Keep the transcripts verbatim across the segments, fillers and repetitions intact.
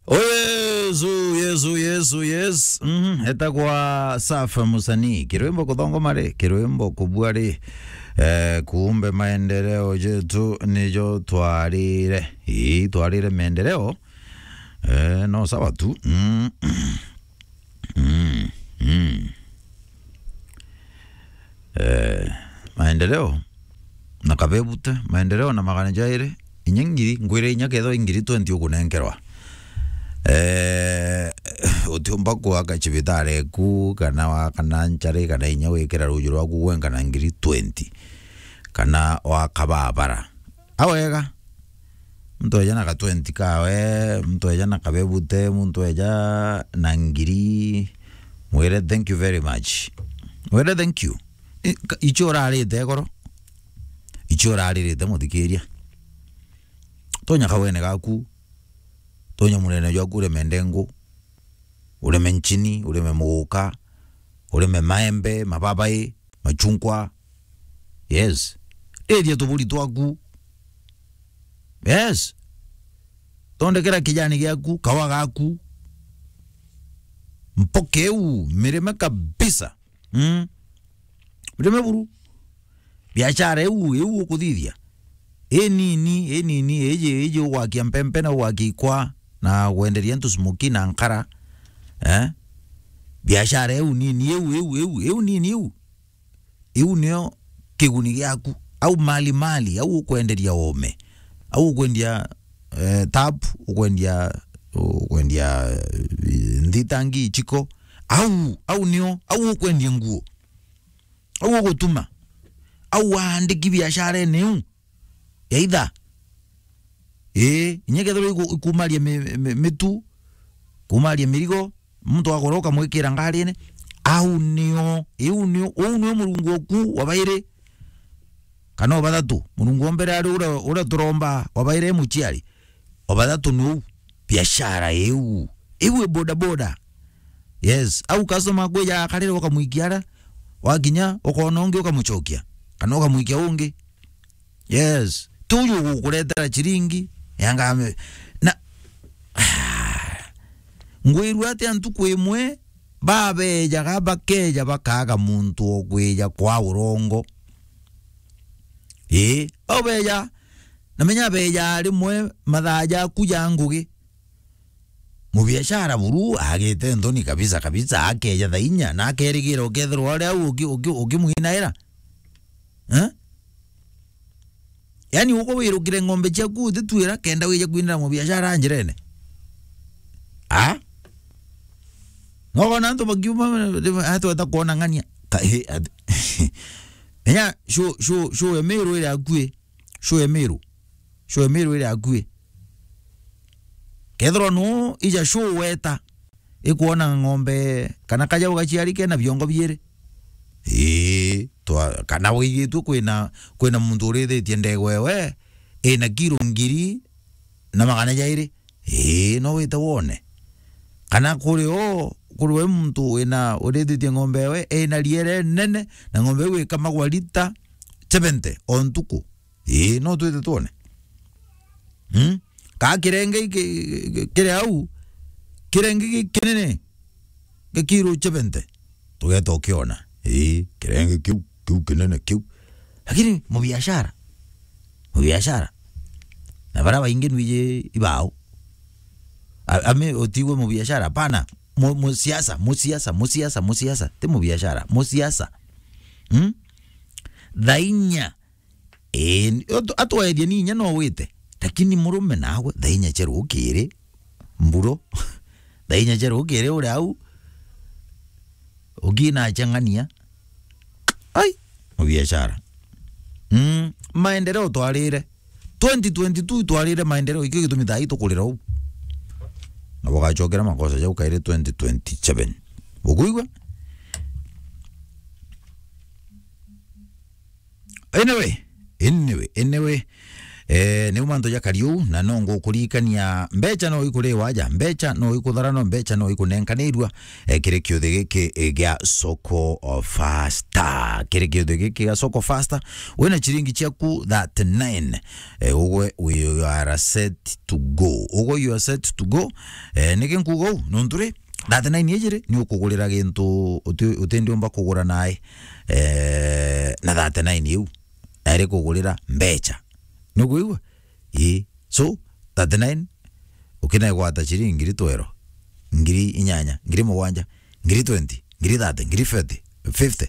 Oh, Yesu, Yesu, Yesu, yes. Mhm, etagwa Safa Musanii. Kirwimbo kuthongoma ri, kirwimbo kubua ri. Eh, kumbe maendeleo jetu nijo twarire. Ii, twarire maendeleo. Eh, no sawa tu. Mm. Mm. Mm. Eh, maendeleo na kabebute, maendeleo na magana jairi, inya ngiri, ngwire inya kethwa i ngiri twenty ukunenkerwa. Eh, utiumba kwaka cibitari eku, kana wakana nchari, kana inya wikira ruju rwaku gwenka na ngiri twenty, kana waka babara. Awega. Muntu eja na ka twenty kawe, muntu eja na kabebute, muntu eja na ngiri, mwire, "Thank you very much." Mwire, "Thank you." I-, ka-, icio urarite goro. Icio uraririte, muthikiria. Tonya kawene gaku. Tonya munene jwaku ureme ndengu. Ureme nchini, ureme muguka, ureme maembe, mababai, machungwa. Yes. Riria tuburi twaku. Yes. Thondekera kijani giaku, kawa gaku. Mpoke iu, mirime kabisa. Mm. Mirime buru. Biashara iu, iu ukuthithia. Inini, inini, iji, iji ugwakia mpempe na ugwakia ikwa na gwenderia antu smoki na nkara. Eh? Biashara iu nini, iu, iu, iu, iu nini iu. Iu nio kiguni giaku. Au mali mali, au ukwenderia ome. Au ukwendia, eh, tap, ukwendia, ukwendia, eh, nthitangi, ichiko. Au, au nio, au ukwendia nguo. Au ugutuma. Au waandiki biasharene iu. Ya itha. Ii, inya kethirwa iku-, ikumaria mi-, mi-, mitu, kumaria mirigo, muntu agura ukamwikira ngarine, au nio, iu nio, uu nio Murungu oku wa bairi, kana wa bathatu. Murungu wa mbere ari uria, uria turomba, wa bairi e muciari, wa bathatu ni uu, biashara iu, iu i boda boda. Yes, au customer akwija akarire ukamwikia ara, wakinya ukoona ungi ukamucokia, kana ukamwikia ungi. Yes. Ti uju ugukuretera chiringi, yanga ame-, na, ngwirua atia ntuku imwe, babejaga bakeja bakaga muntu o kwija kwa urongo. Ii, bau beja, na menya beja rimwe mathaa jaku ja ngugi. Mubiashara buru agite nthoni kabisa kabisa, akeja thaa inya, na akerigira ukethirwa ari au uki-, uki-, ukimwinaira. Eh? Yaani, uko wirukire ng'ombe ciaku utitwira kenda wije kwinira mubiashara njirene. Ah? Nogona antu bakiuma, atweta kuona ng'ania. Ka-, he, at-, menya, show, show, show ya Meru iri akui. Show ya Meru. Show ya Meru iri akui. Kethirwa nu ija show weta, ikwona ng'ombe kana kajau gaciari kena biongo biiri. Ii, twa-, kana wigitue kwina, kwina muntu urithitie ndegwa ewe ina kiro ngiri na magana jairi. Ii, no wite wone. Kana kuri o, kuri we muntu wina urithitie ng'ombe ewe ina riere nene, na ng'ombe iu ikamagwa lita seventy o ntuku. Ii, no twite twone. Hmm? Ka kirenge iki, ki-, kiri au, kirenge gi kinene, gi kiro seventy. Tugeta ukiona. Ii, kirenge kiu, kiu kinene kiu. Lakini mubiashara, mubiashara. Na bara baingi nwiji ibao. A-, ami utigwe mubiashara, hapana. Mu-, musiasa, musiasa, musiasa, musiasa. Ti mubiashara, musiasa. Hmm? Thaa inya. Ii, atu-, atwethie ni inya no wite. Lakini murume nawe, thaa inya cia rukiri, mburo. Thaa inya cia rukiri uri au, ukinachang'ania. Ai, mubiashara. Mm, maendeleo twarire. Twenty twenty-two twarire maendeleo, ikio gitumi thaa ii tukurira uu. Na bugacokera makosa jau kairi twenty twenty-seven. Bukuigua? Anyway, anyway, anyway. Eh, niu mantu jakari uu, na no ngukuririkania, mbecha no ikuriwa aja, mbecha no ikuthara, no mbecha no ikunenkanirua, eh, kiri kiuthi giki, eh, gia Soko Fasta. Kiri kiuthi giki gia Soko Fasta, wina chiringi chiaku thirty-nine, eh, ugwe, we, you are set to go. Ugwe, you are set to go. Eh, niki nkuuga uu? Nontu ri, thirty-nine iji ri, ni ukugurira gintu uti-, utindiumba kugura nae, eh, na thirty-nine iu. Nairi kugurira mbecha. Nukwigua? Ii. So, thirty-nine, ukinegwata chiringi ngiri twero, ngiri inyanya, ngiri mugwanja, ngiri twenty, ngiri thirty, ngiri forty, fifty.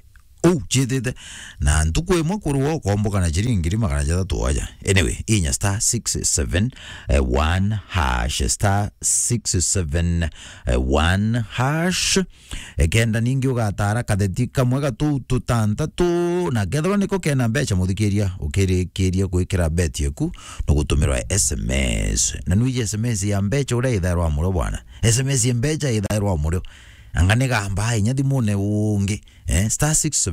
Uu chiitite. Na ntuku imwe kurwa ukomboka na chiringi ngiri magana jathatu aja. Anyway, inya star six seven one hash, star six seven one hash. Ekenda ningi ugatara katheti kamwe gatu tutantatu, na kethirwa niko kena mbecha, muthikiria, ukirikiria gwikira bet yeku, no gutumirwa S M S. Na nwiji S M S ya mbecha uria ithairwa murio bwana. S M S ya mbecha ithairwa murio. Anga ni gamba inya thimune ungi. Eh, star six